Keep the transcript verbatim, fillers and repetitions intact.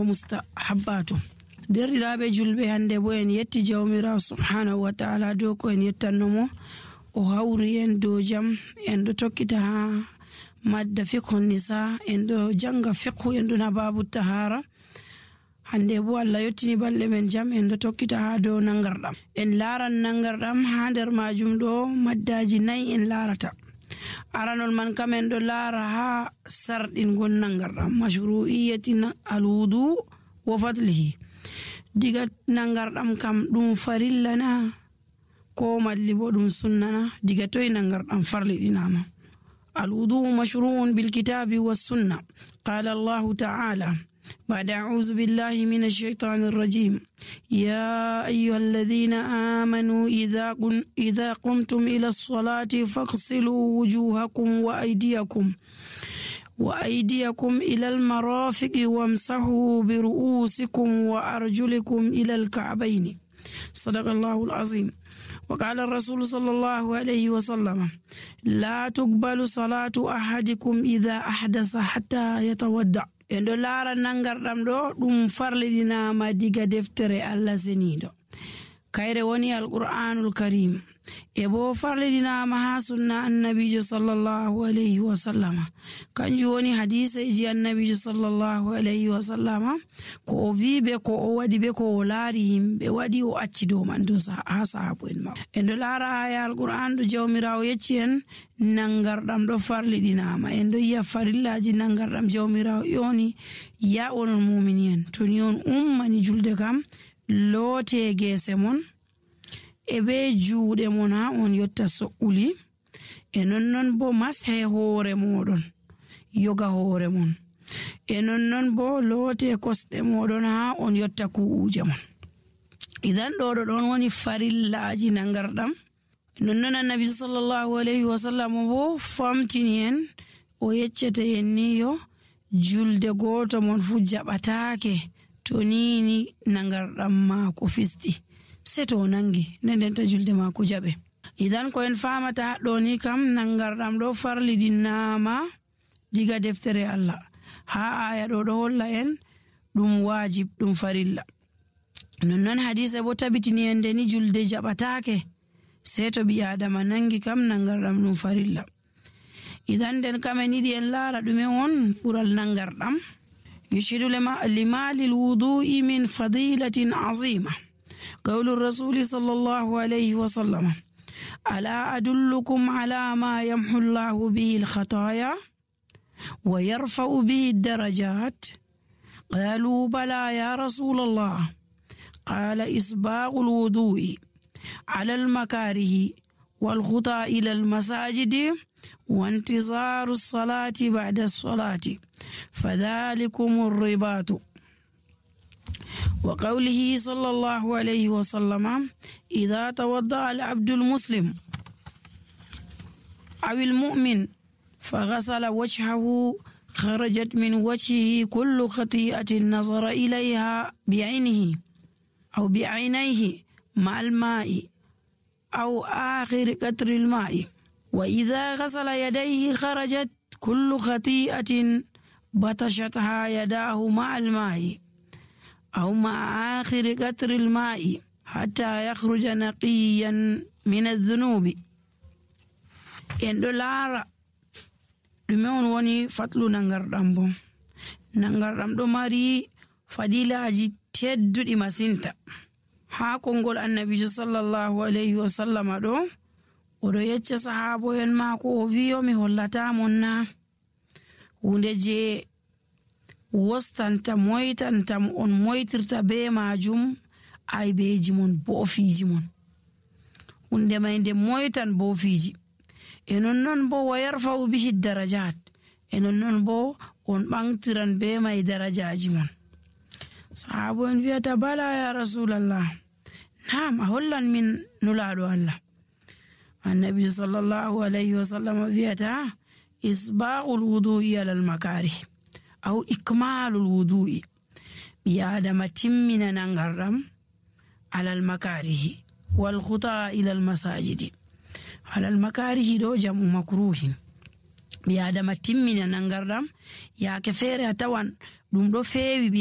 mustahabbatu. Derɗiraaɓe julɓe, hande bo en yetti jawmirawo subhanahu wa ta'ala dow ko en yettannomo o hawri en dow jam. En ɗo tokkita ha madda fiqhu nisa, en ɗo janga fiqhu, en ɗon ha babu tahara. Hande bo Allah yottini balɗe men jam, en ɗo tokkita ha dow nangarɗam. En laran nangarɗam ha nder majum ɗo maddaji nayi en larata. Aranol man kam en ɗo lara ha sarɗingol nangarɗam, mashru'iyyati alwudu wa fadlihi. Diga nangarɗam kam ɗum farilla na ko malli bo ɗum sunna na? Diga toy nangarɗam farliɗinama? الوضوء مشروع بالكتاب والسنة. قال الله تعالى بعد أعوذ بالله من الشيطان الرجيم: يا أيها الذين آمنوا إذا, قن إذا قمتم إلى الصلاة فاغسلوا وجوهكم وأيديكم وأيديكم إلى المرافق وامسحوا برؤوسكم وأرجلكم إلى الكعبين. صدق الله العظيم. وقال الرسول صلى الله عليه وسلم: لا تقبل صلاة أحدكم إذا أحدث حتى يتودع. en ɗo laara nangarɗam ɗo ɗum farliɗinama diga deftere Allah seniɗo, kayre woni alqur'anul karim, e bo farliɗinama ha sunna annabijo sallallahu alayhi wa sallama. Kanjum woni hadiseji annabijo sallallahu alayhi wa sallama, ko o wi be ko o waɗi be ko o laari yimɓe waɗi o acci dow man dow ha sahabu en ma. En ɗo laara aya alqur'an ɗo jawmirawo yecci en nangarɗam ɗo farliɗinama. En ɗo yiya farillaji nangarɗam jawmirawo yoni ya onon mumini en, to ni on ummani julde kam loote gese mon e be juuɗe mon ha on yotta so'uli, e nonnon bo mashe hoore moɗon, yoga hoore mon, e nonnon bo loote kosɗe moɗon ha on yotta ku'uje mon. Idan ɗo ɗo ɗon woni farillaji nangarɗam. Nonnon annabi sallallahu alayhi wa sallam bo famtini en, o yeccete en ni yo julde goto mon fu jaɓatake to nini nangarɗam mako fisti, se to nangi ndendenta julde mako jaɓe. Idan ko en famata haɗɗo ni kam nangarɗam ɗo farliɗinama diga deftere Allah, ha aya ɗo ɗo holla en ɗum wajib, ɗum farilla. Nonnon hadise bo tabitini en de ni julde jaɓatake se to ɓi adama nangi kam nangarɗam ɗum farilla. Idan den kam en yiɗi en laara ɗume on ɓural nangarɗam. يشهد لما للوضوء من فضيلة عظيمة قول الرسول صلى الله عليه وسلم: ألا أدلكم على ما يمحو الله به الخطايا ويرفع به الدرجات؟ قالوا: بلى يا رسول الله. قال: إسباغ الوضوء على المكاره والخطى إلى المساجد وانتظار الصلاة بعد الصلاة، فذلكم الرباط. وقوله صلى الله عليه وسلم: إذا توضأ العبد المسلم أو المؤمن فغسل وجهه خرجت من وجهه كل خطيئة نظر إليها بعينه أو بعينيه مع الماء أو آخر قطر الماء. وإذا غسل يديه خرجت كل خطيئة بطشتها يداه مع الماء أو مع آخر قطر الماء حتى يخرج نقيا من الذنوب. en ɗo laara ɗume on woni fatlu nangarɗam bo. Nangarɗam ɗo mari fadilaji tedduɗi masinta. Ha kongol annabijo sallallahu alayhi wa sallama ɗo oɗo yecca sahabo en mako o wiyo mi hollata mon na hunde je wostanta moytantam on moytirta be majum aybeji mon boofiji mon, hunde may nde moytan boofiji, e nonnon bo wa yarfa'u bihi darajat, e nonnon bo on ɓangtiran be may darajaji mon. Sahabo en wiyata: bala ya rasulallah, naam a hollan min nulaɗo Allah. Annabi sallallahu alayhi wa sallam wiyata: isbaghul wudu'i alal makarih aw ikmalul wudu'i. ɓi adama timmina nangarɗam alal makarihi wal khuta ilal masajidi. alal makarihi ɗo jamu makruhin. ɓi adama timmina nangarɗam, yaake feere a tawan ɗum ɗo feewi ɓi